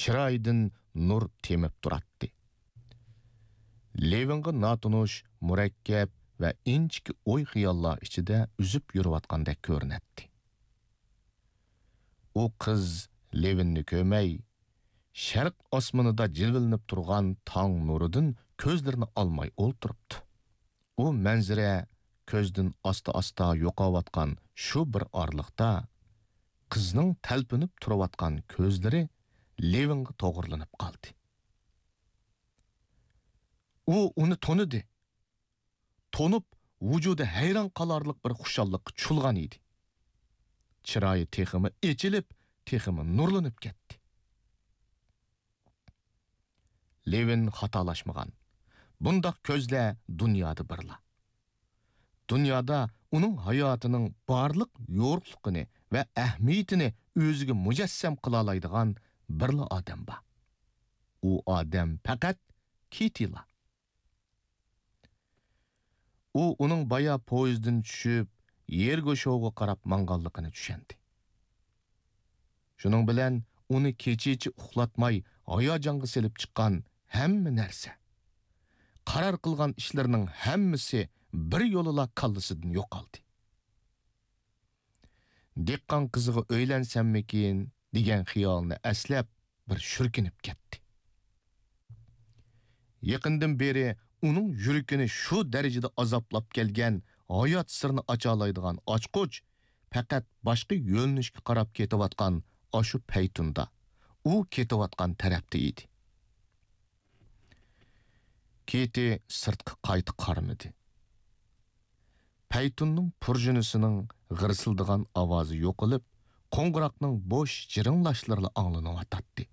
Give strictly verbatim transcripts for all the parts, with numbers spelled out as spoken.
چىرايىدىن نۇر تېمىپ تۇراتتى. لېۋىنغا ناتونۇش، مۇرەككەپ ۋە ئىنچىكە ئوي-خىياللار ئىچىدە ئۈزۈپ يۈرۈۋاتقاندەك كۆرۈنەتتى. ئۇ قىز لېۋىننى كۆرمەي، شەرق ئاسمىنىدا جىلۋىلىنىپ تۇرغان تاڭ نۇرىدىن كۆزلىرىنى ئالماي ئولتۇرۇپتۇ. ئۇ مەنزىرە كۆزدىن ئاستا-ئاستا يوقاۋاتقان شۇ بىر ئارىلىقتا، قىزنىڭ تەلپۈنۈپ تۇرۇۋاتقان كۆزلىرى لېۋىنغا توغرىلىنىپ قالدى. ئۇ ئۇنى تونۇدى. تونۇپ، ۋۇجۇدى ھەيران قالارلىق بىر خۇشاللىققا چولغان ئىدى. چىرايى تېخىمۇ ئېچىلىپ، تېخىمۇ نۇرلىنىپ كەتتى. لېۋىن خاتالاشمىغان. بۇنداق كۆزلەر دۇنيادا بىرلا. دۇنيادا ئۇنىڭ ھاياتىنىڭ بارلىق يورۇقلۇقىنى ۋە ئەھمىيىتىنى ئۆزىگە مۇجەسسەم قىلالايدىغان بىرلا ئادەم بار. ئۇ ئادەم پەقەت كىتىلا. ئۇ ئۇنىڭ بايا پويىزدىن چۈشۈپ، يېرگوشوۋغا قاراپ ماڭغانلىقىنى چۈشەندى. شۇنىڭ بىلەن ئۇنى كېچىچە ئۇخلاتماي ھاياجانغا سېلىپ چىققان ھەممە نەرسە، قارار قىلغان ئىشلىرىنىڭ ھەممىسى بىر يولىلا كاللىسىدىن يوقالدى. دېھقان قىزىغا ئۆيلەنسەممىكىن دېگەن خىيالىنى ئەسلەپ، بىر شۈركۈنۈپ كەتتى. يېقىندىن بېرى ئۇنىڭ يۈرىكىنى شۇ دەرىجىدە ئازابلاپ كەلگەن ھايات سىرىنى ئاچالايدىغان ئاچقۇچ پەقەت باشقا يۆنىلىشكە قاراپ كېتىۋاتقان ئاشۇ پەيتۇندا، ئۇ كېتىۋاتقان تەرەپتە ئىدى. كېتى سىرتقا قايتا قارىمىدى. پەيتۇننىڭ پۇرژىنىسىنىڭ غىرسىلدىغان ئاۋازى يوقىلىپ، قوڭغۇراقنىڭ بوش جىرىڭلاشلىرىلا ئاڭلىنىۋاتاتتى.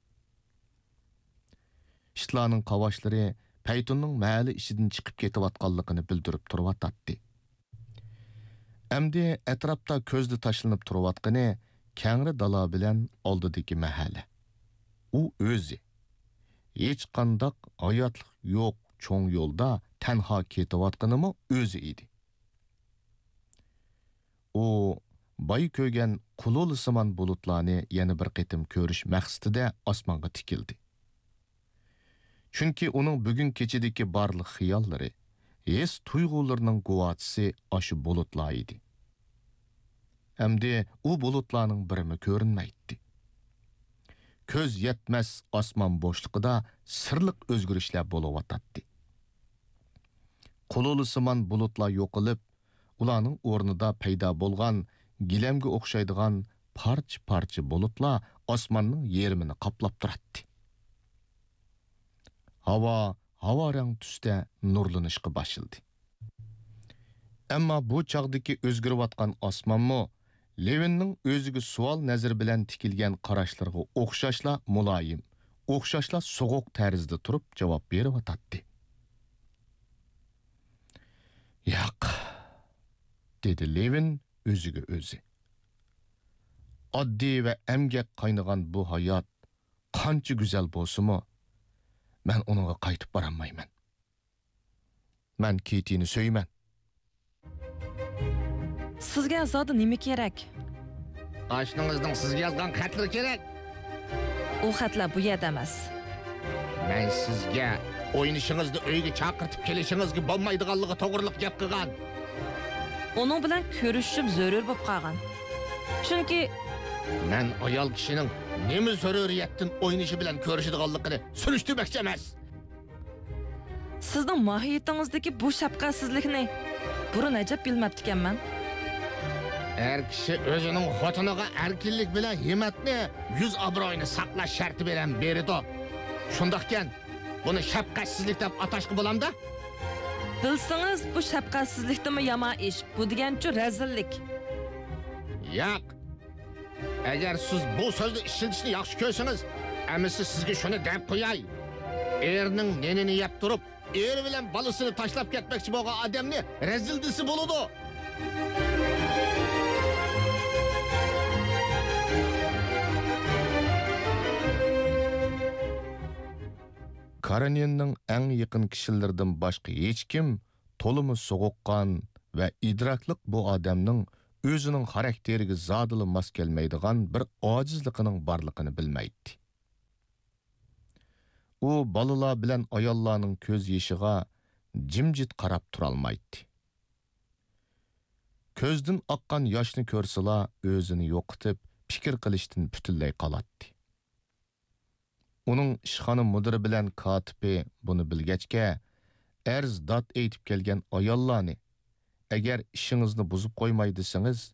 ئىتلارنىڭ قاۋاشلىرى پەيتۇننىڭ مەھەللە ئىچىدىن چىقىپ كېتىۋاتقانلىقىنى بىلدۈرۈپ تۇرۇۋاتاتتى. ئەمدى ئەتراپتا كۆزدە تاشلىنىپ تۇرۇۋاتقىنى كەڭرى دالا بىلەن ئالدىدىكى مەھەللە. ئۇ ئۆزى. ھېچقانداق ھاياتلىق يوق چوڭ يولدا تەنھا كېتىۋاتقىنىمۇ ئۆزى ئىدى. ئۇ بايا كۆرگەن قۇلۇلىسىمان بۇلۇتلارنى يەنە بىر قېتىم كۆرۈش مەقسىتىدە ئاسمانغا تىكىلدى. چۈنكى ئۇنىڭ بۈگۈن كېچىدىكى بارلىق خىياللىرى، ھېس-تۇيغۇلىرىنىڭ گۇۋاھچىسى ئاشۇ بۇلۇتلار ئىدى. ئەمدى ئۇ بۇلۇتلارنىڭ بىرىمۇ كۆرۈنمەيتتى. كۆز يەتمەس ئاسمان بوشلۇقىدا سىرلىق ئۆزگىرىشلەر بولۇۋاتاتتى. قۇلۇلىسىمان بۇلۇتلار يوقىلىپ، ئۇلارنىڭ ئورنىدا پەيدا بولغان گىلەمگە ئوخشايدىغان پارچە-پارچە بۇلۇتلار ئاسماننىڭ يېرىمىنى قاپلاپ تۇراتتى. ھاۋا ھاۋارەڭ تۈستە نۇرلىنىشقا باشلىدى. ئەمما بۇ چاغدىكى ئۆزگىرىۋاتقان ئاسمانمۇ لېۋىننىڭ ئۆزىگە سوئال نەزىرى بىلەن تىكىلگەن قاراشلىرىغا ئوخشاشلا مۇلايىم، ئوخشاشلا سوغۇق تەرزدە تۇرۇپ جاۋاب بېرىۋاتاتتى. ياق، دېدى لېۋىن ئۆزىگە ئۆزى. ئاددىي ۋە ئەمگەك قاينىغان بۇ ھايات قانچە گۈزەل بولسىمۇ، مەن ئۇنىڭغا قايتىپ بارالمايمەن. مەن كېتىنى سۆيىمەن. سىزگە زادى نېمە كېرەك؟ ئاشنىڭىزنىڭ سىزگە يازغان خەتلىرى كېرەك. ئۇ خەتلەر بۇ يەردە ئەمەس. مەن سىزگە ئوينىشىڭىزنى ئۆيگە چاقىرتىپ كېلىشىڭىزگە بولمايدىغانلىقى توغرىلىق گەپ قىلغان. ئۇنىڭ بىلەن كۆرۈشۈشۈم زۆرۈر بولۇپ قالغان. چۈنكى مەن ئايال كىشىنىڭ نېمە زۆرۈرىيەتتىن ئوينىشى بىلەن كۆرۈشىدىغانلىقىنى سۈرۈشتۈرمەكچى ئەمەس. سىزنىڭ ماھىيىتىڭىزدىكى بۇ شەپقەتسىزلىكنى بۇرۇن ئەجەب بىلمەپتىكەنمەن. ئەر كىشى ئۆزىنىڭ خوتۇنىغا ئەركىنلىك بىلەن ھىممەتنى، يۈز ئابرۇيىنى ساقلاش شەرتى بىلەن بېرىدۇ. شۇنداقكەن، بۇنى شەپقەتسىزلىك دەپ ئاتاشقا بولامدا؟ بىلسىڭىز، بۇ شەپقەتسىزلىكتىنمۇ يامان ئىش. بۇ دېگەنچۇ رەزىللىك. ياق. ئەگەر سىز بۇ سۆزنى ئىشلىتىشنى ياخشى كۆرسىڭىز، ئەمىسە سىزگە شۇنى دەپ قوياي. ئېرىنىڭ نېنىنى يەپ تۇرۇپ، ئېرى بىلەن بالىسىنى تاشلاپ كەتمەكچى بولغان ئادەمنى رەزىل دېسە بولىدۇ. كارېنىننىڭ ئەڭ يېقىن كىشىلىرىدىن باشقا ھېچكىم تولىمۇ سوغۇققان ۋە ئىدراكلىق بۇ ئادەمنىڭ ئۆزىنىڭ خاراكتېرىگە زادىلا ماس كەلمەيدىغان بىر ئاجىزلىقىنىڭ بارلىقىنى بىلمەيتتى. ئۇ بالىلار بىلەن ئاياللارنىڭ كۆز يېشىغا جىمجىت قاراپ تۇرالمايتتى. كۆزدىن ئاققان ياشنى كۆرسىلا، ئۆزىنى يوقىتىپ، پىكىر قىلىشتىن پۈتۈنلەي قالاتتى. ئۇنىڭ ئىشخانا مۇدىرى بىلەن كاتىپى بۇنى بىلگەچكە، ئەرز-داد ئېيتىپ كەلگەن ئاياللارنى، «ئەگەر ئىشىڭىزنى بۇزۇپ قويماي دېسىڭىز،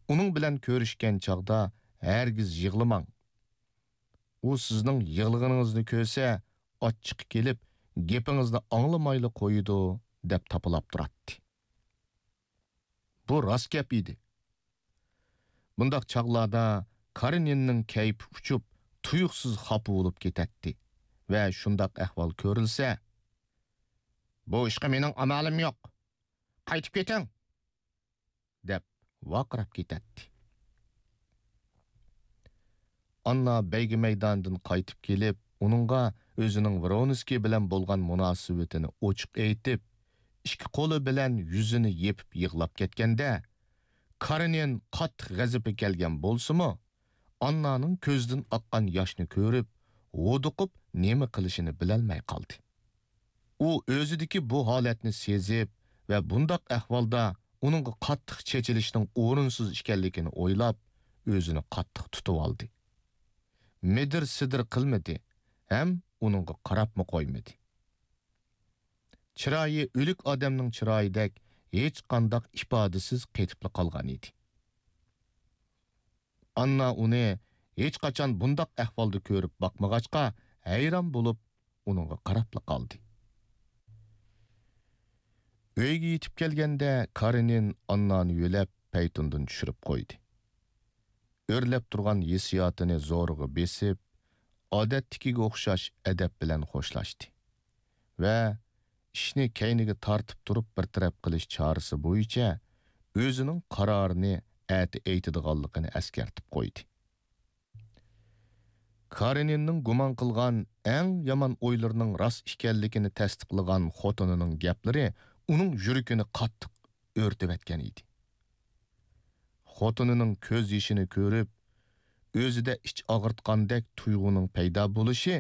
ئۇنىڭ بىلەن كۆرۈشكەن چاغدا ھەرگىز يىغلىماڭ. ئۇ سىزنىڭ يىغلىغىنىڭىزنى كۆرسە، ئاچچىقى كېلىپ، گېپىڭىزنى ئاڭلىمايلا قويىدۇ» دەپ تاپىلاپ تۇراتتى. بۇ راست گەپ ئىدى. بۇنداق چاغلاردا كارېنىننىڭ كەيپى ئۇچۇپ، تۇيۇقسىز خاپا بولۇپ كېتەتتى ۋە شۇنداق ئەھۋال كۆرۈلسە، «بۇ ئىشقا مېنىڭ ئامالىم يوق. قايتىپ كېتىڭ!» دەپ ۋارقىراپ كېتەتتى. ئاننا بەيگە مەيدانىدىن قايتىپ كېلىپ، ئۇنىڭغا ئۆزىنىڭ ۋرونسكىي بىلەن بولغان مۇناسىۋىتىنى ئوچۇق ئېيتىپ، ئىككى قولى بىلەن يۈزىنى يېپىپ يىغلاپ كەتكەندە، كارېنىن قاتتىق غەزىپى كەلگەن بولسىمۇ، ئاننانىڭ كۆزىدىن ئاققان ياشنى كۆرۈپ، ھودۇقۇپ نېمە قىلىشىنى بىلەلمەي قالدى. ئۇ ئۆزىدىكى بۇ ھالەتنى سېزىپ ۋە بۇنداق ئەھۋالدا ئۇنىڭغا قاتتىق چېچىلىشنىڭ ئورۇنسىز ئىكەنلىكىنى ئويلاپ، ئۆزىنى قاتتىق تۇتۇۋالدى. مىدىر-سىدىر قىلمىدى ھەم ئۇنىڭغا قاراپمۇ قويمىدى. چىرايى ئۆلۈك ئادەمنىڭ چىرايىدەك ھېچقانداق ئىپادىسىز قېتىپلا قالغان ئىدى. ئاننا ئۇنى ھېچقاچان بۇنداق ئەھۋالدا كۆرۈپ باقمىغاچقا، ھەيران بولۇپ، ئۇنىڭغا قاراپلا قالدى. ئۆيگە يېتىپ كەلگەندە، كارېنىن ئاننانى يۆلەپ، پەيتۇندىن چۈشۈرۈپ قويدى. ئۆرلەپ تۇرغان ھېسسىياتىنى زورىغا بېسىپ، ئادەتتىكىگە ئوخشاش ئەدەپ بىلەن خوشلاشتى ۋە ئىشنى كەينىگە تارتىپ تۇرۇپ بىر تەرەپ قىلىش چارىسى بويىچە ئۆزىنىڭ قارارىنى ئەتە ئېيتىدىغانلىقىنى ئەسكەرتىپ قويدى. كارېنىننىڭ گۇمان قىلغان ئەڭ يامان ئويلىرىنىڭ راست ئىكەنلىكىنى تەستىقلىغان خوتۇنىنىڭ گەپلىرى ئۇنىڭ يۈرىكىنى قاتتىق ئۆرتىۋەتكەن ئىدى. خوتۇنىنىڭ كۆز يېشىنى كۆرۈپ، ئۆزىدە ئىچ ئاغرىتقاندەك تۇيغۇنىڭ پەيدا بولۇشى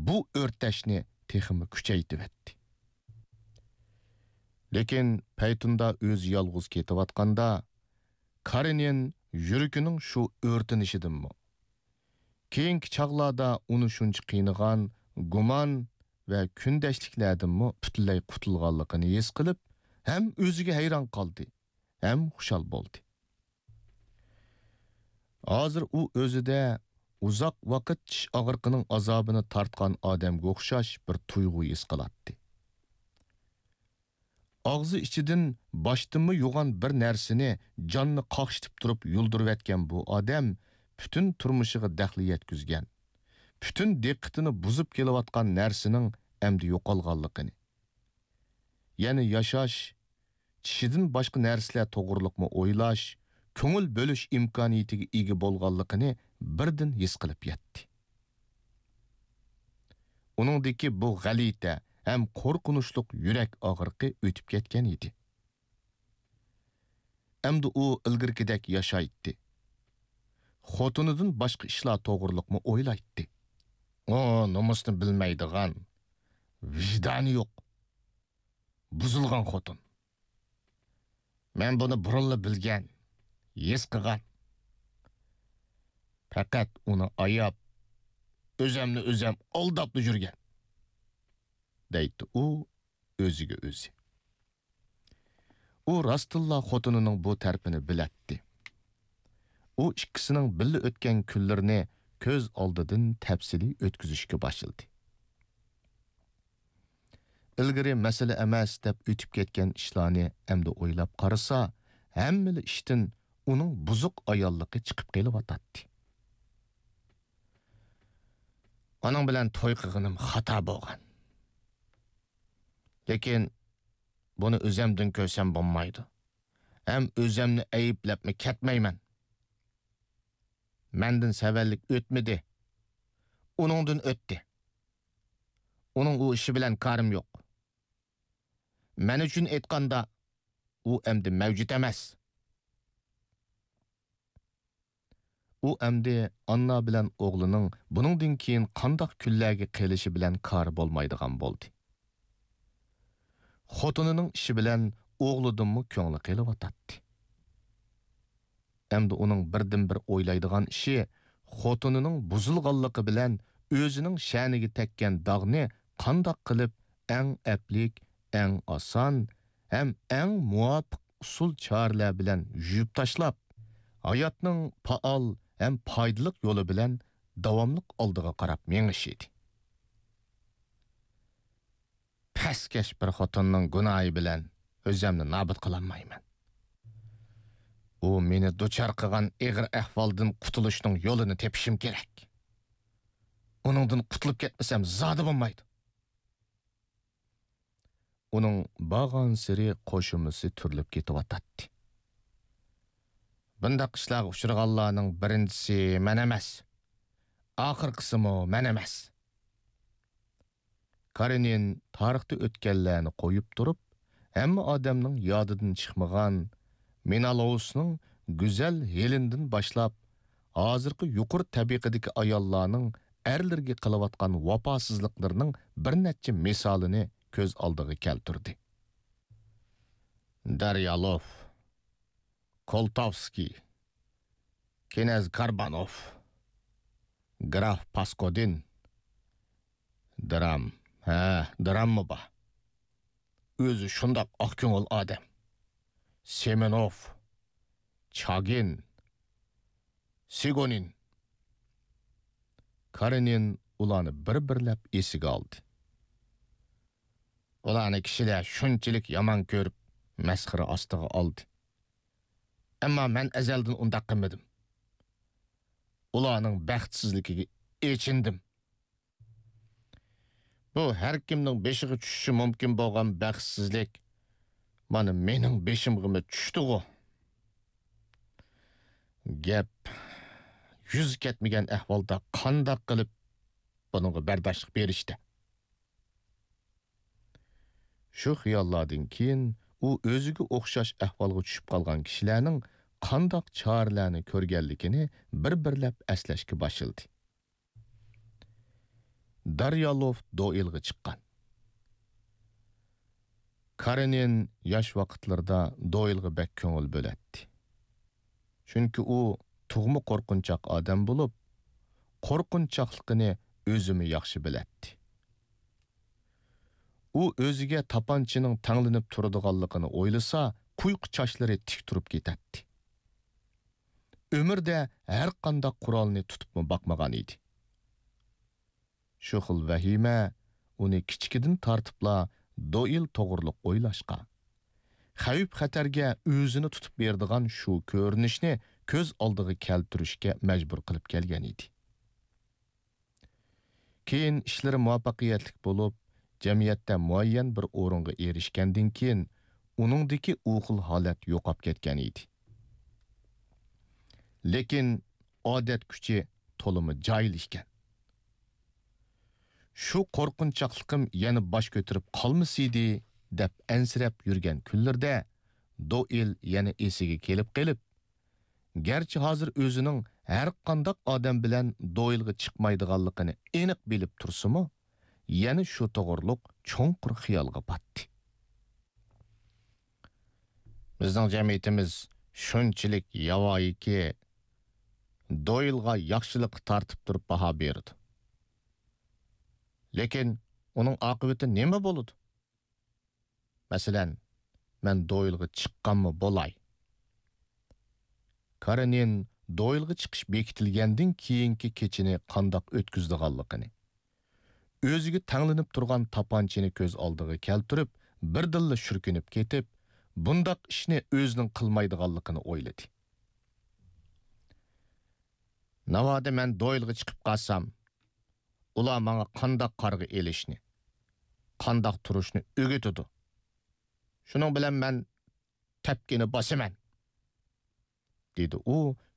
بۇ ئۆرتەشنى تېخىمۇ كۈچەيتىۋەتتى. لېكىن پەيتۇندا ئۆزى يالغۇز كېتىۋاتقاندا، كارېنىن يۈرىكىنىڭ شۇ ئۆرتىنىشىدىنمۇ، كېيىنكى چاغلاردا ئۇنى شۇنچە قىينىغان گۇمان ۋە كۈندەشلىكلەردىنمۇ پۈتۈنلەي قۇتۇلغانلىقىنى ھېس قىلىپ، ھەم ئۆزىگە ھەيران قالدى، ھەم خۇشال بولدى. ھازىر ئۇ ئۆزىدە ئۇزاق ۋاقىت چىش ئاغرىقىنىڭ ئازابىنى تارتقان ئادەمگە ئوخشاش بىر تۇيغۇ ھېس قىلاتتى. ئاغزى ئىچىدىن باشتىنمۇ يوغان بىر نەرسىنى جاننى قاقشىتىپ تۇرۇپ يۇلدۇرۇۋەتكەن بۇ ئادەم پۈتۈن تۇرمۇشىغا دەخلى يەتكۈزگەن، پۈتۈن دىققىتىنى بۇزۇپ كېلىۋاتقان نەرسىنىڭ ئەمدى يوقالغانلىقىنى، يەنە ياشاش، چىشىدىن باشقا نەرسىلەر توغرۇلۇقمۇ ئويلاش، كۆڭۈل بۆلۈش ئىمكانىيىتىگە ئىگە بولغانلىقىنى بىردىن ھېس قىلىپ يەتتى. ئۇنىڭدىكى بۇ غەلىتە ھەم قورقۇنچلۇق يۈرەك ئاغرىقى ئۆتۈپ كەتكەن ئىدى. ئەمدى ئۇ ئىلگىرىكىدەك ياشايتتى. خوتۇنىدىن باشقا ئىشلار توغرۇلۇقمۇ ئويلايتتى. ئۇ نومۇسنى بىلمەيدىغان، ۋىجدانى يوق، بۇزۇلغان خوتۇن. مەن بۇنى بۇرۇنلا بىلگەن، ھېس قىلغان. پەقەت ئۇنى ئاياپ، ئۆزەمنى ئۆزەم ئالداپلا يۈرگەن، دەيتتى ئۇ ئۆزىگە ئۆزى. ئۇ راستتىنلا خوتۇنىنىڭ بۇ تەرىپىنى بىلەتتى. ئۇ ئىككىسىنىڭ بىللە ئۆتكەن كۈنلىرىنى كۆز ئالدىدىن تەپسىلىي ئۆتكۈزۈشكە باشلىدى. ئىلگىرى مەسىلە ئەمەس دەپ ئۆتۈپ كەتكەن ئىشلارنى ئەمدى ئويلاپ قارىسا، ھەممىلا ئىشتىن ئۇنىڭ بۇزۇق ئاياللىقى چىقىپ قېلىۋاتاتتى. ئۇنىڭ بىلەن توي قىلغىنىم خاتا بولغان. لېكىن بۇنى ئۆزەمدىن كۆرسەم بولمايدۇ. ھەم ئۆزەمنى ئەيىبلەپمۇ كەتمەيمەن. مەندىن سەۋەنلىك ئۆتمىدى. ئۇنىڭدىن ئۆتتى. ئۇنىڭ ئۇ ئىشى بىلەن كارىم يوق. مەن ئۈچۈن ئېيتقاندا، ئۇ ئەمدى مەۋجۇت ئەمەس. ئۇ ئەمدى ئاننا بىلەن ئوغلىنىڭ بۇنىڭدىن كېيىن قانداق كۈنلەرگە قېلىشى بىلەن كارى بولمايدىغان بولدى. خوتۇنىنىڭ ئىشى بىلەن ئوغلىدىنمۇ كۆڭلى قېلىۋاتاتتى. ئەمدى ئۇنىڭ بىردىنبىر ئويلايدىغان ئىشى خوتۇنىنىڭ بۇزۇلغانلىقى بىلەن ئۆزىنىڭ شەنىگە تەگكەن داغنى قانداق قىلىپ ئەڭ ئەپلىك، ئەڭ ئاسان ھەم ئەڭ مۇۋاپىق ئۇسۇل-چارىلەر بىلەن يۇيۇپ تاشلاپ، ھاياتنىڭ پائال ھەم پايدىلىق يولى بىلەن داۋاملىق ئالدىغا قاراپ مېڭىشى ئىدى. پەسكەش بىر خوتۇننىڭ گۇناھى بىلەن ئۆزۈمنى نابۇت قىلالمايمەن. ئۇ مېنى دۇچار قىلغان ئېغىر ئەھۋالدىن قۇتۇلۇشنىڭ يولىنى تېپىشىم كېرەك. ئۇنىڭدىن قۇتۇلۇپ كەتمىسەم زادى بولمايدۇ. ئۇنىڭ بارغانسېرى قوشۇمىسى تۈرۈلۈپ كېتىۋاتاتتى. بۇنداق ئىشلارغا ئۇچرىغانلارنىڭ بىرىنچىسى مەن ئەمەس. ئاخىرقىسىمۇ مەن ئەمەس. كارېنىن تارىختا ئۆتكەنلەرنى قويۇپ تۇرۇپ، ھەممە ئادەمنىڭ يادىدىن چىقمىغان مېنالوۋسنىڭ گۈزەل ھېلېندىن باشلاپ، ھازىرقى يۇقىرى تەبىقىدىكى ئاياللارنىڭ ئەرلىرىگە قىلىۋاتقان ۋاپاسىزلىقلىرىنىڭ بىر نەچچە مىسالىنى كۆز ئالدىغا كەلتۈردى. داريالوف، كولتاۋسكىي، كىنەز كاربانوف، گراف پاسكودىن. درام، ھە، دراممۇ بار. ئۆزى شۇنداق ئاق كۆڭۈل ئادەم. سېمېنوف، چاگىن، سېگونىن. كارېنىن ئۇلارنى بىر-بىرلەپ ئېسىگە ئالدى. ئۇلارنى كىشىلەر شۇنچىلىك يامان كۆرۈپ، مەسخىرە ئاستىغا ئالدى. ئەمما مەن ئەزەلدىن ئۇنداق قىلمىدىم. ئۇلارنىڭ بەختسىزلىكىگە ئېچىندىم. بۇ ھەر كىمنىڭ بېشىغا چۈشۈشى مۇمكىن بولغان بەختسىزلىك مانا مېنىڭ بېشىمغىمۇ چۈشتىغۇ. گەپ يۈز كەتمىگەن ئەھۋالدا قانداق قىلىپ بۇنىڭغا بەرداشلىق بېرىشتە؟ شۇ خىياللاردىن كېيىن ئۇ ئۆزىگە ئوخشاش ئەھۋالغا چۈشۈپ قالغان كىشىلەرنىڭ قانداق چارىلەرنى كۆرگەنلىكىنى بىر-بىرلەپ ئەسلەشكە باشلىدى. داريالوف دوئىلغا چىققان. كارېنىن ياش ۋاقىتلىرىدا دوئىلغا بەك كۆڭۈل بۆلەتتى. چۈنكى ئۇ تۇغما قورقۇنچاق ئادەم بولۇپ، قورقۇنچاقلىقىنى ئۆزىمۇ ياخشى بىلەتتى. ئۇ ئۆزىگە تاپانچىنىڭ تەڭلىنىپ تۇرىدىغانلىقىنى ئويلىسا، قۇيقۇ چاچلىرى تىك تۇرۇپ كېتەتتى. ئۆمرىدە ھەرقانداق قورالنى تۇتۇپمۇ باقمىغان ئىدى. شۇ خىل ۋەھىمە ئۇنى كىچىكىدىن تارتىپلا دوئىل توغرۇلۇق ئويلاشقا، خەۋپ-خەتەرگە ئۆزىنى تۇتۇپ بېرىدىغان شۇ كۆرۈنۈشنى كۆز ئالدىغا كەلتۈرۈشكە مەجبۇر قىلىپ كەلگەن ئىدى. كېيىن ئىشلىرى مۇۋەپپەقىيەتلىك بولۇپ، جەمئىيەتتە مۇئەييەن بىر ئورۇنغا ئېرىشكەندىن كېيىن، ئۇنىڭدىكى ئۇ خىل ھالەت يوقاپ كەتكەن ئىدى. لېكىن ئادەت كۈچى تولىمۇ جاھىل ئىكەن. شۇ قورقۇنچاقلىقىم يەنە باش كۆتۈرۈپ قالمىسىدى، دەپ ئەنسىرەپ يۈرگەن كۈنلىرىدە دوئىل يەنە ئېسىگە كېلىپ قېلىپ، گەرچە ھازىر ئۆزىنىڭ ھەرقانداق ئادەم بىلەن دوئىلغا چىقمايدىغانلىقىنى ئېنىق بىلىپ تۇرسىمۇ، يەنە شۇ توغرۇلۇق چوڭقۇر خىيالغا پاتتى. بىزنىڭ جەمئىيىتىمىز شۇنچىلىك ياۋايىكى، دوئىلغا ياخشىلىققا تارتىپ تۇرۇپ باھا بېرىدۇ. لېكىن ئۇنىڭ ئاقىۋىتى نېمە بولىدۇ؟ مەسىلەن، مەن دوئىلغا چىققانمۇ بولاي. كارېنىن دوئىلغا چىقىش بېكىتىلگەندىن كېيىنكى كېچىنى قانداق ئۆتكۈزىدىغانلىقىنى، ئۆزىگە تەڭلىنىپ تۇرغان تاپانچىنى كۆز ئالدىغا كەلتۈرۈپ، بىردىنلا شۈركۈنۈپ كېتىپ، بۇنداق ئىشنى ئۆزىنىڭ قىلمايدىغانلىقىنى ئويلىدى. ناۋادا مەن دوئېلغا چىقىپ قالسام، ئۇلار ماڭا قانداق قارىغا ئېلىشنى، قانداق تۇرۇشنى ئۆگىتىدۇ. شۇنىڭ بىلەن مەن تەپكىنى باسىمەن، دېدى ئۇ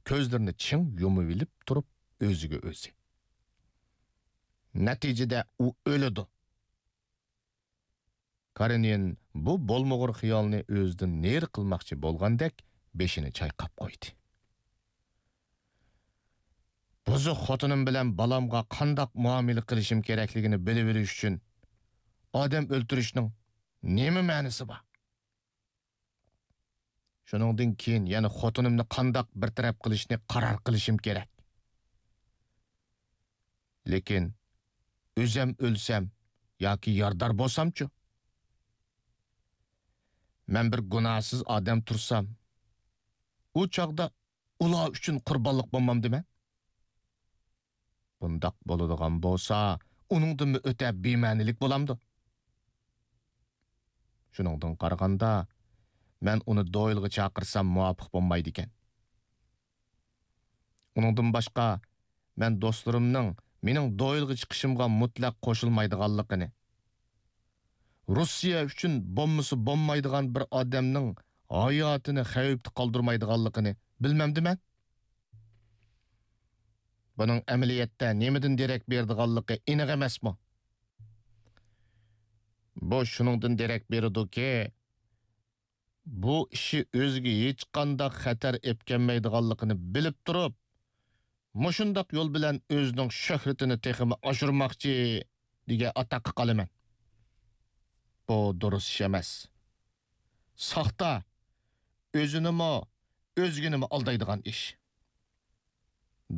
كۆزلىرىنى چىڭ يۇمۇۋېلىپ تۇرۇپ ئۆزىگە ئۆزى. نەتىجىدە ئۇ ئۆلىدۇ. كارېنىن بۇ بولمىغۇر خىيالنى ئۆزىدىن نېرى قىلماقچى بولغاندەك بېشىنى چايقاپ قويدى. بۇزۇق خوتۇنۇم بىلەن بالامغا قانداق مۇئامىلە قىلىشىم كېرەكلىكىنى بىلىۋېلىش ئۈچۈن ئادەم ئۆلتۈرۈشنىڭ نېمە مەنىسى بار؟ شۇنىڭدىن كېيىن يەنە خوتۇنۇمنى قانداق بىر تەرەپ قىلىشنى قارار قىلىشىم كېرەك. لېكىن ئۆزەم ئۆلسەم ياكى يارىدار بولسامچۇ؟ مەن بىر گۇناھسىز ئادەم تۇرسام، ئۇ چاغدا ئۇلار ئۈچۈن قۇربانلىق بولمامدىمەن؟ بۇنداق بولىدىغان بولسا، ئۇنىڭدىنمۇ ئۆتە بىمەنىلىك بولامدۇ؟ شۇنىڭدىن قارىغاندا، مەن ئۇنى دويلغا چاقىرسام مۇۋاپىق بولمايدىكەن. ئۇنىڭدىن باشقا، مەن دوستلىرىمنىڭ مېنىڭ دويلغا چىقىشىمغا مۇتلەق قوشۇلمايدىغانلىقىنى، روسىيە ئۈچۈن بولمىسا بولمايدىغان بىر ئادەمنىڭ ھاياتىنى خەۋپتە قالدۇرمايدىغانلىقىنى بىلمەمدىمەن؟ بۇنىڭ ئەمەلىيەتتە نېمىدىن دېرەك بېرىدىغانلىقى ئېنىق ئەمەسمۇ؟ بۇ شۇنىڭدىن دېرەك بېرىدۇكى، بۇ ئىشى ئۆزىگە ھېچقانداق خەتەر ئېلىپ كەلمەيدىغانلىقىنى بىلىپ تۇرۇپ، مۇشۇنداق يول بىلەن ئۆزىنىڭ شۆھرىتىنى تېخىمۇ ئاشۇرماقچى دېگەن ئاتاققا قالىمەن. بۇ دۇرۇس ئىش ئەمەس. ساختا، ئۆزىنىمۇ، ئۆزگىنىمۇ ئالدايدىغان ئىش.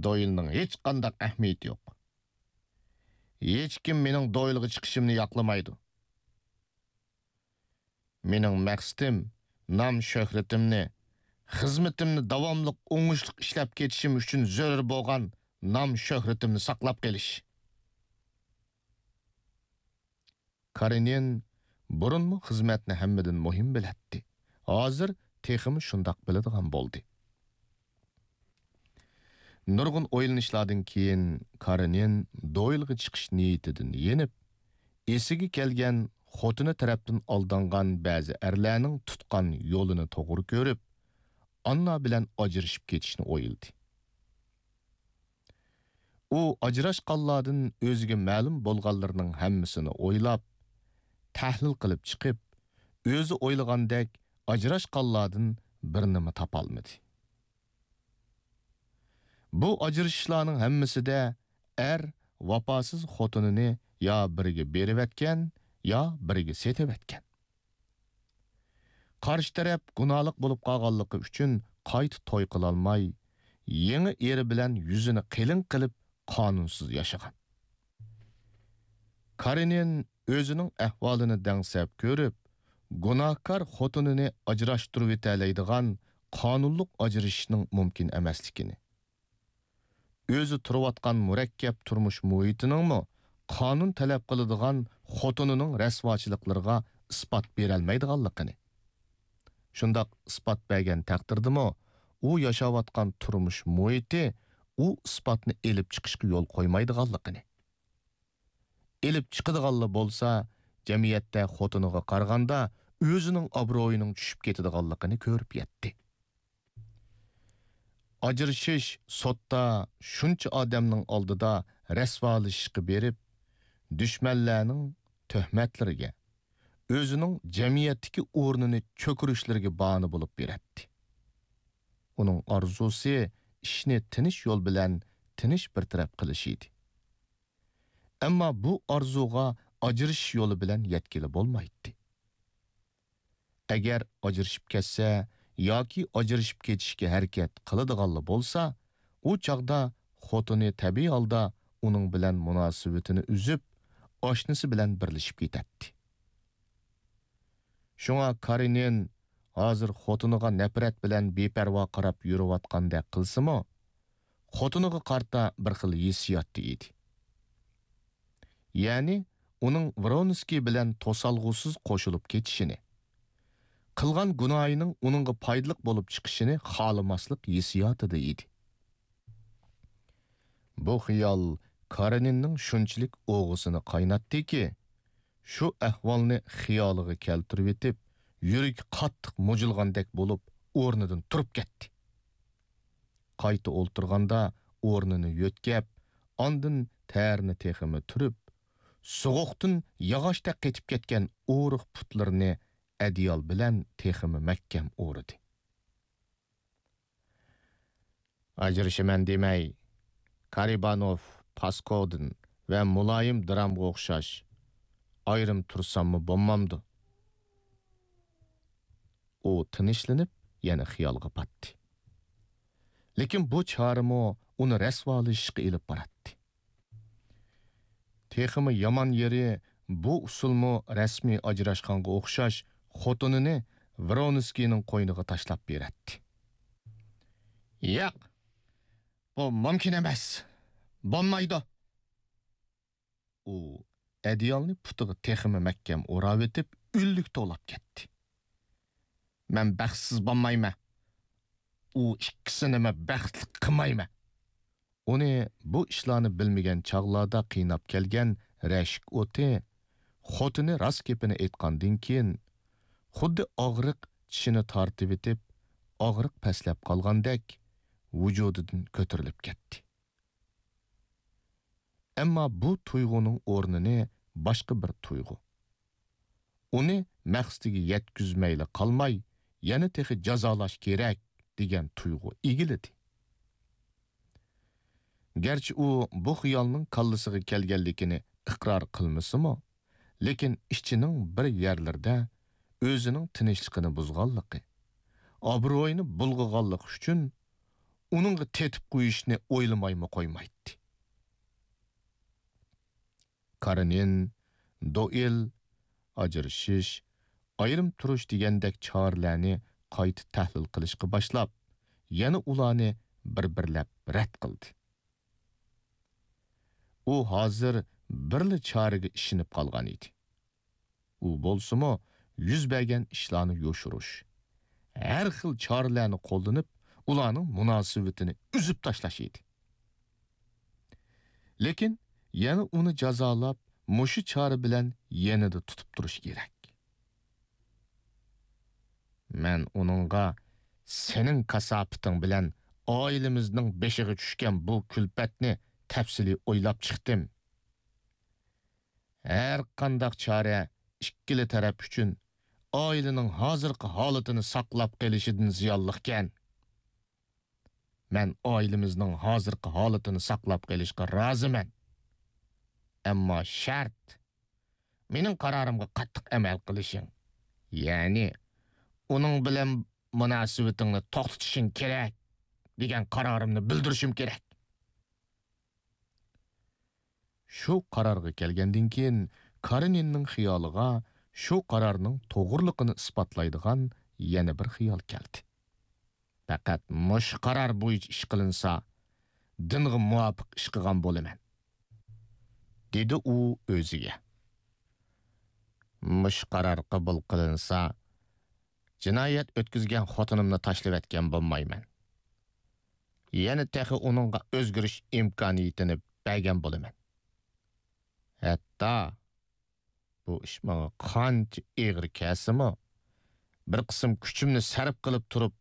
دويلنىڭ ھېچقانداق ئەھمىيىتى يوق. ھېچكىم مېنىڭ دويلغا چىقىشىمنى ياقلىمايدۇ. مېنىڭ مەقسىتىم نام-شۆھرىتىمنى، خىزمىتىمنى داۋاملىق ئوڭۇشلۇق ئىشلەپ كېتىشىم ئۈچۈن زۆرۈر بولغان نام-شۆھرىتىمنى ساقلاپ قېلىش. كارېنىن بۇرۇنمۇ خىزمەتنى ھەممىدىن مۇھىم بىلەتتى. ھازىر تېخىمۇ شۇنداق بىلىدىغان بولدى. نۇرغۇن ئويلىنىشلاردىن كېيىن، كارېنىن دويلغا چىقىش نىيىتىدىن يېنىپ، ئېسىگە كەلگەن خوتۇنى تەرەپتىن ئالدانغان بەزى ئەرلەرنىڭ تۇتقان يولىنى توغرا كۆرۈپ، ئاننا بىلەن ئاجرىشىپ كېتىشنى ئويلىدى. ئۇ ئاجراشقانلاردىن ئۆزىگە مەلۇم بولغانلىرىنىڭ ھەممىسىنى ئويلاپ، تەھلىل قىلىپ چىقىپ، ئۆزى ئويلىغاندەك ئاجراشقانلاردىن بىرىنىمۇ تاپالمىدى. بۇ ئاجرىشىشلارنىڭ ھەممىسىدە ئەر ۋاپاسىز خوتۇنىنى يا بىرىگە بېرىۋەتكەن، يا بىرىگە سېتىۋەتكەن. قارشى تەرەپ گۇناھلىق بولۇپ قالغانلىقى ئۈچۈن قايتا توي قىلالماي، يېڭى ئېرى بىلەن يۈزىنى قېلىن قىلىپ، قانۇنسىز ياشىغان. كارېنىن ئۆزىنىڭ ئەھۋالىنى دەڭسەپ كۆرۈپ، گۇناھكار خوتۇنىنى ئاجراشتۇرۇۋېتەلەيدىغان قانۇنلۇق ئاجرىشىشنىڭ مۇمكىن ئەمەسلىكىنى، ئۆزى تۇرۇۋاتقان مۇرەككەپ تۇرمۇش مۇھىتىنىڭمۇ قانۇن تەلەپ قىلىدىغان خوتۇنىنىڭ رەسۋاچىلىقلىرىغا ئىسپات بېرەلمەيدىغانلىقىنى، شۇنداق ئىسپات بەرگەن تەقدىردىمۇ، ئۇ ياشاۋاتقان تۇرمۇش مۇھىتى ئۇ ئىسپاتنى ئېلىپ چىقىشقا يول قويمايدىغانلىقىنى، ئېلىپ چىقىدىغانلا بولسا، جەمئىيەتتە خوتۇنىغا قارىغاندا ئۆزىنىڭ ئابرۇيىنىڭ چۈشۈپ كېتىدىغانلىقىنى كۆرۈپ يەتتى. ئاجرىشىش سوتتا شۇنچە ئادەمنىڭ ئالدىدا رەسۋالىشىشقا بېرىپ، دۈشمەنلەرنىڭ تۆھمەتلىرىگە، ئۆزىنىڭ جەمئىيەتتىكى ئورنىنى چۆكۈرۈشلىرىگە باھانە بولۇپ بېرەتتى. ئۇنىڭ ئارزۇسى ئىشنى تىنچ يول بىلەن تىنچ بىر تەرەپ قىلىش ئىدى. ئەمما بۇ ئارزۇغا ئاجرىشىش يولى بىلەن يەتكىلى بولمايتتى. ئەگەر ئاجرىشىپ كەتسە ياكى ئاجرىشىپ كېتىشكە ھەرىكەت قىلىدىغانلا بولسا، ئۇ چاغدا خوتۇنى تەبىئىي ھالدا ئۇنىڭ بىلەن مۇناسىۋىتىنى ئۈزۈپ، ئاشنىسى بىلەن بىرلىشىپ كېتەتتى. شۇڭا كارېنىن ھازىر خوتۇنىغا نەپرەت بىلەن بىپەرۋا قاراپ يۈرۈۋاتقاندەك قىلسىمۇ، خوتۇنىغا قارىتا بىر خىل ھېسسىياتتا ئىدى. يەنى ئۇنىڭ ۋرونسكىي بىلەن توسالغۇسىز قوشۇلۇپ كېتىشىنى، قىلغان گۇناھىنىڭ ئۇنىڭغا پايدىلىق بولۇپ چىقىشىنى خالىماسلىق ھېسسىياتىدا ئىدى. بۇ خىيال كارېنىننىڭ شۇنچىلىك ئوغىسىنى قايناتتىكى، شۇ ئەھۋالنى خىيالىغا كەلتۈرۈۋېتىپ، يۈرىكى قاتتىق مۇجۇلغاندەك بولۇپ، ئورنىدىن تۇرۇپ كەتتى. قايتا ئولتۇرغاندا ئورنىنى يۆتكەپ، ئاندىن تەرىنى تېخىمۇ تۈرۈپ، سوغۇقتىن ياغاچتەك قېتىپ كەتكەن ئورۇق پۇتلىرىنى ئەدىيال بىلەن تېخىمۇ مەھكەم ئورىدى. ئاجرىشىمەن دېمەي، كارىبانوف، پاسكودىن ۋە مۇلايىم درامغا ئوخشاش ئايرىم تۇرساممۇ بولمامدۇ؟ ئۇ تىنچلىنىپ، يەنە خىيالغا پاتتى. لېكىن بۇ چارىمۇ ئۇنى رەسۋالىشىشقا ئېلىپ باراتتى. تېخىمۇ يامان يېرى، بۇ ئۇسۇلمۇ رەسمىي ئاجراشقانغا ئوخشاش خوتۇنىنى ۋرونسكىينىڭ قوينىغا تاشلاپ بېرەتتى. ياق، بۇ مۇمكىن ئەمەس. بولمايدۇ. ئۇ ئەدىيالنى پۇتىغا تېخىمۇ مەھكەم ئوراۋېتىپ، ئۈنلۈك توۋلاپ كەتتى. مەن بەختسىز بولمايمەن. ئۇ ئىككىسىنىمۇ بەختلىك قىلمايمەن. ئۇنى بۇ ئىشلارنى بىلمىگەن چاغلاردا قىيناپ كەلگەن رەشك ئوتى خوتۇنى راست گېپىنى ئېيتقاندىن كېيىن، خۇددى ئاغرىق چىشىنى تارتىۋېتىپ، ئاغرىق پەسلەپ قالغاندەك ۋۇجۇدىدىن كۆتۈرۈلۈپ كەتتى. ئەمما بۇ تۇيغۇنىڭ ئورنىنى باشقا بىر تۇيغۇ، ئۇنى مەقسىتىگە يەتكۈزمەيلا قالماي، يەنە تېخى جازالاش كېرەك دېگەن تۇيغۇ ئىگىلىدى. گەرچە ئۇ بۇ خىيالنىڭ كاللىسىغا كەلگەنلىكىنى ئىقرار قىلمىسىمۇ، لېكىن ئىچىنىڭ بىر يەرلىرىدە ئۆزىنىڭ تىنچلىقىنى بۇزغانلىقى، ئابرۇيىنى بۇلغىغانلىقى ئۈچۈن ئۇنىڭغا تېتىپ قويۇشنى ئويلىمايمۇ قويمايتتى. كارېنىن، دوئىل، ئاجرىشىش، ئايرىم تۇرۇش دېگەندەك چارىلەرنى قايتا تەھلىل قىلىشقا باشلاپ، يەنە ئۇلارنى بىر-بىرلەپ رەت قىلدى. ئۇ ھازىر بىرلا چارىگە ئىشىنىپ قالغان ئىدى. ئۇ بولسىمۇ يۈز بەرگەن ئىشلارنى يوشۇرۇش، ھەر خىل چارىلەرنى قوللىنىپ، ئۇلارنىڭ مۇناسىۋىتىنى ئۈزۈپ تاشلاش ئىدى. لېكىن يەنە ئۇنى جازالاپ، مۇشۇ چارە بىلەن يېنىدا تۇتۇپ تۇرۇش كېرەك. مەن ئۇنىڭغا سېنىڭ كاساپىتىڭ بىلەن ئائىلىمىزنىڭ بېشىغا چۈشكەن بۇ كۈلپەتنى تەپسىلىي ئويلاپ چىقتىم. ھەر قانداق چارە ئىككىلا تەرەپ ئۈچۈن ئائىلىنىڭ ھازىرقى ھالىتىنى ساقلاپ قېلىشىدىن زىيانلىقكەن. مەن ئائىلىمىزنىڭ ھازىرقى ھالىتىنى ساقلاپ قېلىشقا رازىمەن. ئەمما شەرت، مېنىڭ قارارىمغا قاتتىق ئەمەل قىلىشىڭ. يەنى، ئۇنىڭ بىلەن مۇناسىۋىتىڭنى توختىتىشىڭ كېرەك، دېگەن قارارىمنى بىلدۈرۈشۈم كېرەك. شۇ قارارغا كەلگەندىن كېيىن، كارېنىننىڭ خىيالىغا شۇ قارارنىڭ توغرىلىقىنى ئىسپاتلايدىغان يەنە بىر خىيال كەلدى. پەقەت مۇشۇ قارار بويىچە ئىش قىلىنسا، دىنغا مۇۋاپىق ئىش قىلغان بولىمەن، دېدى ئۇ ئۆزىگە. مۇشۇ قارار قوبۇل قىلىنسا، جىنايەت ئۆتكۈزگەن خوتۇنۇمنى تاشلىۋەتكەن بولمايمەن. يەنە تېخى ئۇنىڭغا ئۆزگىرىش ئىمكانىيىتىنى بەرگەن بولىمەن. ھەتتا بۇ ئىش ماڭا قانچە ئېغىر كەلسىمۇ، بىر قىسىم كۈچۈمنى سەرپ قىلىپ تۇرۇپ،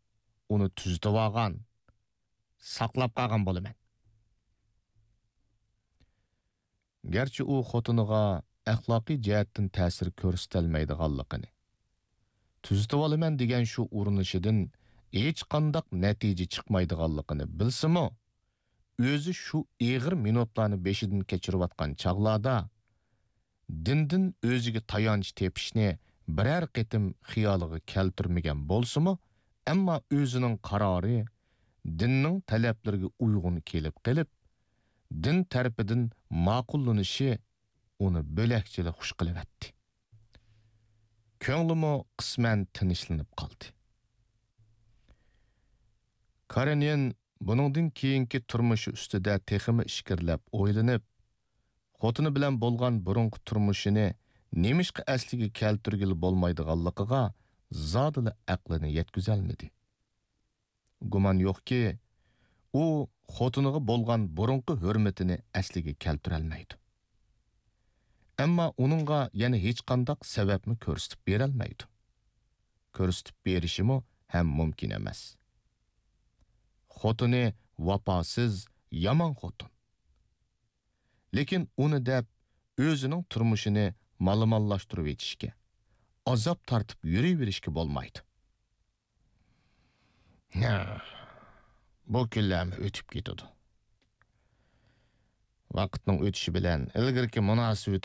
ئۇنى تۈزىتىۋالغان، ساقلاپ قالغان بولىمەن. گەرچە ئۇ خوتۇنىغا ئەخلاقىي جەھەتتىن تەسىر كۆرسىتەلمەيدىغانلىقىنى، تۈزىتىۋالىمەن دېگەن شۇ ئۇرۇنۇشىدىن ھېچقانداق نەتىجە چىقمايدىغانلىقىنى بىلسىمۇ، ئۆزى شۇ ئېغىر مىنۇتلارنى بېشىدىن كەچۈرۈۋاتقان چاغلاردا، دىندىن ئۆزىگە تايانچ تېپىشنى بىرەر قېتىم خىيالىغا كەلتۈرمىگەن بولسىمۇ، ئەمما ئۆزىنىڭ قارارى دىننىڭ تەلەپلىرىگە ئۇيغۇن كېلىپ قېلىپ، دىن تەرىپىدىن ماقۇللىنىشى ئۇنى بۆلەكچىلا خۇش قىلىۋەتتى. كۆڭلىمۇ قىسمەن تىنچلىنىپ قالدى. كارېنىن بۇنىڭدىن كېيىنكى تۇرمۇشى ئۈستىدە تېخىمۇ ئىچكىرىلەپ ئويلىنىپ، خوتۇنى بىلەن بولغان بۇرۇنقى تۇرمۇشىنى نېمىشقا ئەسلىگە كەلتۈرگىلى بولمايدىغانلىقىغا زادىلا ئەقلىنى يەتكۈزەلمىدى. گۇمان يوقكى، ئۇ خوتۇنىغا بولغان بۇرۇنقى ھۆرمىتىنى ئەسلىگە كەلتۈرەلمەيدۇ. ئەمما ئۇنىڭغا يەنە ھېچقانداق سەۋەبمۇ كۆرسىتىپ بېرەلمەيدۇ. كۆرسىتىپ بېرىشىمۇ ھەم مۇمكىن ئەمەس. خوتۇنى ۋاپاسىز، يامان خوتۇن. لېكىن ئۇنى دەپ ئۆزىنىڭ تۇرمۇشىنى مالىمانلاشتۇرۇۋېتىشكە، ئازاب تارتىپ يۈرۈۋېرىشكە بولمايدۇ. ھە، بۇ كۈنلەرمۇ ئۆتۈپ كېتىدۇ. ۋاقىتنىڭ ئۆتۈشى بىلەن ئىلگىرىكى مۇناسىۋىتى